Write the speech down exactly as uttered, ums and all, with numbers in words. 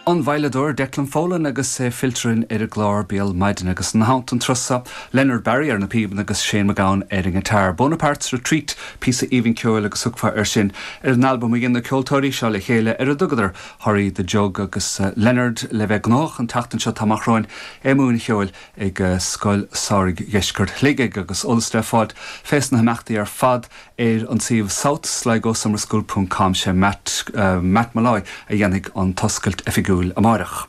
An veidhleadóir Declan Folan agus é fillte ar an gclár Béal Maidine agus ina theannta an turas seo Leonard Barry ar na píobanna agus Shane McGowan ar an ngiotár. Bonaparte's Retreat píosa aoibhinn ceoil agus thugfá ar sin ar an albam a dhein na ceoltóirí seo le chéile ar a dtugadar Hurry the Jug agus uh, Leonard le bheith gnóthach an tseachtain seo amach romhainn ag múineadh ceoil ag uh, Scoil Samhraidh Dheisceart Shligigh agus eolas le fáil fés na himeachtaí ar fad ar an suíomh South Sligo Summer School.com sé Matt, uh, Matt Malloy a dhéanfaidh an t-oscailt oifigiúil amárach.